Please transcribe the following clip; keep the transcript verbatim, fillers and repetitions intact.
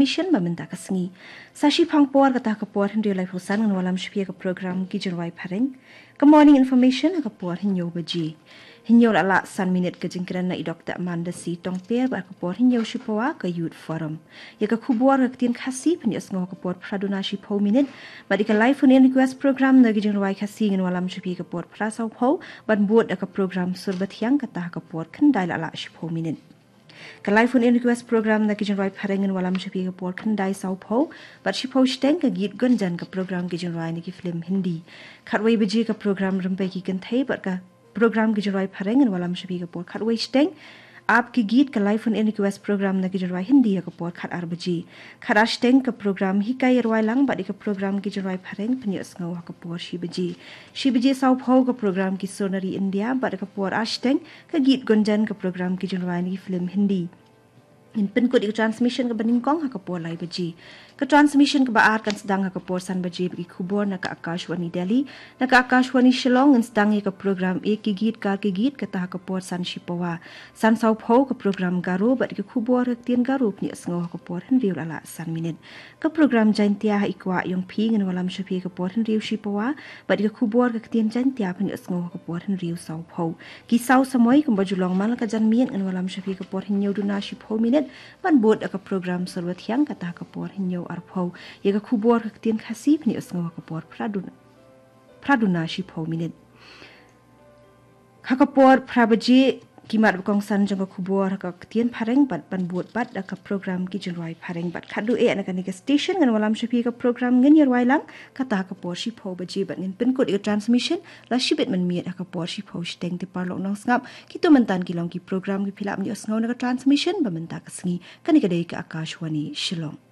Mission ba mynta ka sngi. Sa shiphang por kata ka por hynriew laiphew san ngan wallam sha phi ka program ki jingrwai phareng. Ka morning information ha ka por hynñiew baje. Hynñiew la lah san minit ka jingkren na i Doktor Amanda C Tongper bad ka por hynñiew shipawa ka Youth Forum. Ïa ka khubor ka ktien Khasi phin ïohsngew ha ka por phra duna shiphew minit. Bad ïa ka live phone in request program na ki jingrwai Khasi ngan wallam sha phi ka por phra sawphew. Bad bud da ka program Sur Bathiang kata ha ka por khyndai la lah shiphew minit. Ka live phone in request program na ki jingrwai phareng ngan wallam sha phi ka por khyndai sawphew. Bad shiphew shiteng ka git gunjan ka program ki jingrwai na ki film Hindi. Khatwei baje ka program Rympei ki Kynthei bad ka program ki jingrwai phareng ngan wallam sha phi ka por khatwei shiteng. Ap ki git ka live phone in request program na ki jingrwai Hindi ha ka por khatar baje. Khatar shiteng ka program Hikai Rwai Lang bad ïa ka program ki jingrwai phareng phin ïohsngew ha ka por shi baje. Shi baje sawphew ka program ki Sur na ri India bad ïa ka por ar shiteng ka git gunjan ka program ki jingrwai na ki film Hindi. Ngin pynkut ïa ka transmission kaba nyngkong ha ka por lai baje. Ka transmission kaba ar kan sdang ha ka por san baje bad ki khubor na ka Akashvani Delhi. Na ka Akashvani Shillong ngin sdang ïa ka program Ek Ki Geet Kar Ki Geet kata ha ka por san shipawa. San sawphew ka program Garo bad ïa ka khubor ka ktien Garo phin ïohsngew ha ka por hynriew la lah san minit. Ka program Jaintia ha i kwah ïong phi ngan wallam sha phi ka por hynriew shipawa bad ïa ka khubor ka ktien Jaintia phin ïohsngew ha ka por hynriew sawphew. Ki saw samoi kumba ju long man la ka janmiet ngan wallam sha phi ka por hynñiew duna shiphew minit ban bud da ka program Sur Bathiang kata ha ka por hynñiew arphew. Ïa ka khubor ka ktien Khasi phin ïohsngew ha ka por phra duna, phra duna shiphew minit. Ha ka por phra baje ki mat ba kongsan jong ka khubor ha ka ktien phareng bad ban bud bad da ka program ki jingrwai phareng bad khadduh eh na kane ka station ngan wallam sha phi ka program Ngin Ïarwai Lang kata ha ka por shiphew baje bad ngin pynkut ïa ka transmission la shibit mynmiet ha ka por shiphew shiteng. Te paralok nongsngap, kito mynta ki long ki program kiba phi lah ban ïohsngew na ka transmission ba mynta ka sngi. Kane ka dei ka Akashvani Shillong.